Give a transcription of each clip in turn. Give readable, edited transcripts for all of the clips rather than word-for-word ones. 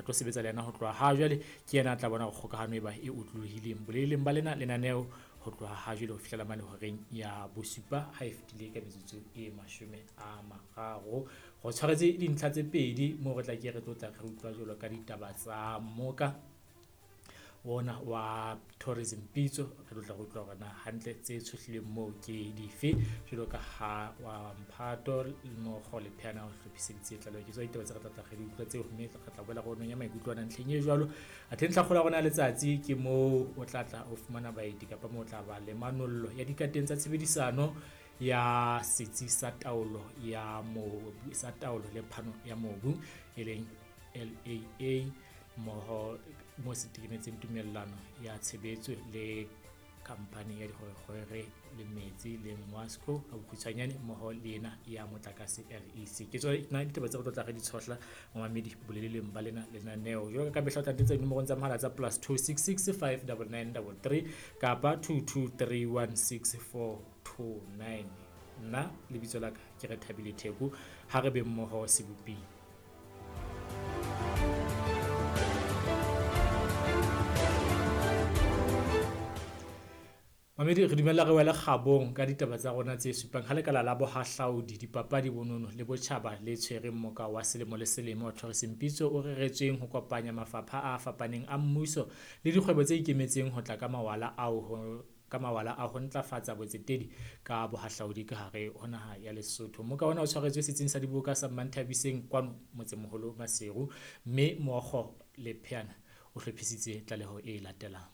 Re tlo sebetsa le yena ho tloha ha jwale, ke yena a tla bona hore kgokahano e ba e otlolohileng boleleng ba lena lenaneo ho tloha ha jwale ho fihlela mane horeng ya bosupa ha e fetile ka metsotso e 30. Re tshwaretse dintlha tse pedi moo re tla ke re tlo tla re utlwa jwalo ka ditaba tsa mmoka ona wa Tourism Pitso. Re tlo tla re utlwa hore na hantle tse tshohlilweng moo ke dife, jwalo ka ha wa Mphato Mokgo le Pheana o hlophiseditse tlaleho. Ke tswa ditaba tse re tla tla re di utlwa tseo, mme re tla boela re onong ya maikutlo ana ntlheng e jwalo. Athe ntlha kgolo ya rona ya letsatsi ke moo o tla tla o fumana baeti kapa moo o tla ba le manollo ya dikateng tsa tshebedisano ya setsi sa taolo ya mobu, sa taolo le phano ya mobu e leng LAA, mmoho mo se tekenetseng tumellano ya tshebetso le khampani ya dikgwerekgwere le metsi le Ngwasco ka bokhutshwanyane, mmoho le ena ya motlakase REC. Ke tsona ditaba tse re tlo tla re di tshohla mamamedi boleleng ba lena lenaneo. Jwalo ka mehla o tla ntetsa dinomorong tsa mohala tsa +266 599 33 kapa 22316429. Nna lebitso la ka ke re Thabile Theko, ha re be mmoho seboping. Mamedi, re dumella re wele kgabong ka ditaba tsa rona tse supang ha lekala la bohahlaudi, dipapadi, bonono le botjhaba le tshwereng moka wa selemo le selemo wa Tourism Pitso o reretsweng ho kopanya mafapha a fapaneng a mmuso le dikgwebo tse ikemetseng ho tla ka mawala ao ho ka mawala a ho ntlafatsa botsetedi ka bohahlaudi ka hare ho naha ya Lesotho. Moka ona o tshwaretswe setsing sa diboka sa Mmanthabiseng kwano motsemoholo Maseru, mme Mookgo le Pheana o hlophisitse tlaleho e latelang.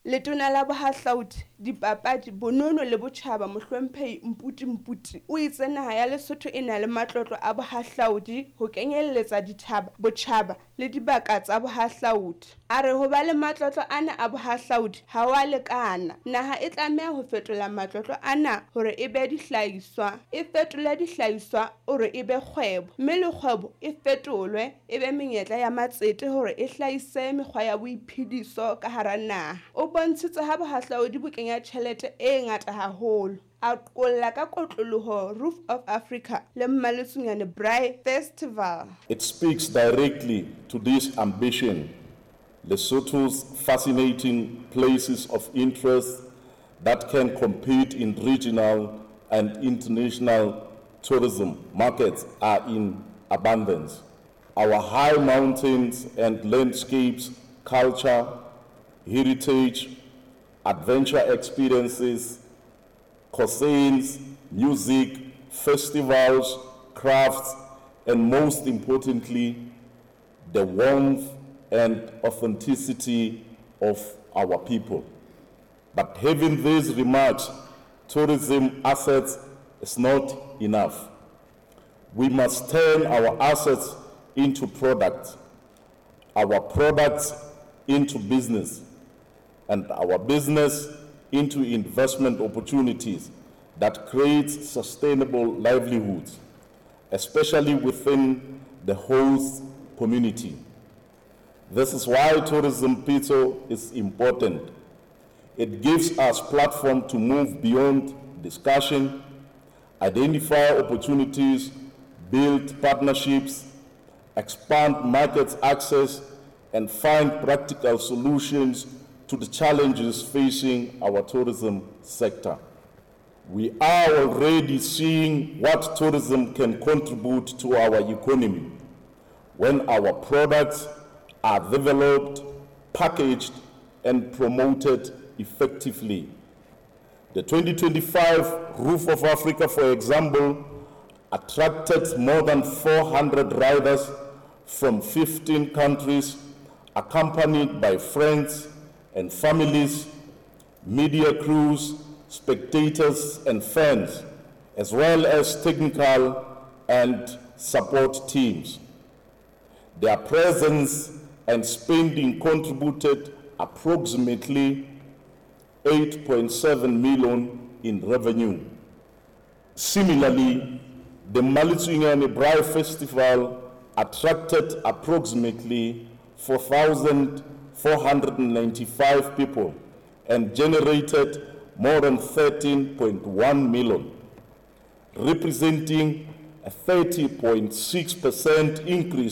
Letona la Bohahlaudi, Dipapadi, Bonono le Botjhaba Mohlomphehi Mputi Mputi o itse naha ya Lesotho e na le matlotlo a bohahlaudi ho kenyelletsa dithaba, botjhaba le dibaka tsa bohahlaudi. A re ho ba le matlotlo ana a bohahlaudi ha wa lekana. Naha e tlameha ho fetola matlotlo ana hore e be dihlahiswa, e fetole dihlahiswa hore e be kgwebo, mme le kgwebo e fetolwe e be menyetla ya matsete hore e hlahise mekgwa ya boiphediso ka hara naha. O bontshitse ha bohahlaudi bo kenya tjhelete e ngata haholo. A qolla ka kotloloho Roof of Africa le Mmaletsunyane Braai Festival. It speaks directly to this ambition. Lesotho's fascinating places of interest that can compete in regional and international tourism markets are in abundance. Our high mountains and landscapes, culture, heritage, adventure experiences, cuisines, music, festivals, crafts, and most importantly, the warmth and authenticity of our people. But having these remarks, tourism assets is not enough. We must turn our assets into products, our products into business, and our business into investment opportunities that create sustainable livelihoods, especially within the host community. This is why Tourism Pitso is important. It gives us platform to move beyond discussion, identify opportunities, build partnerships, expand market access, and find practical solutions to the challenges facing our tourism sector. We are already seeing what tourism can contribute to our economy when our products are developed, packaged, and promoted effectively. The 2025 Roof of Africa, for example, attracted more than 400 riders from 15 countries, accompanied by friends and families, media crews, spectators and fans, as well as technical and support teams. Their presence and spending contributed approximately 8.7 million in revenue. Similarly, the Maletsunyane Braai Festival attracted approximately 4,495 people and generated more than 13.1 million, representing a 30.6% increase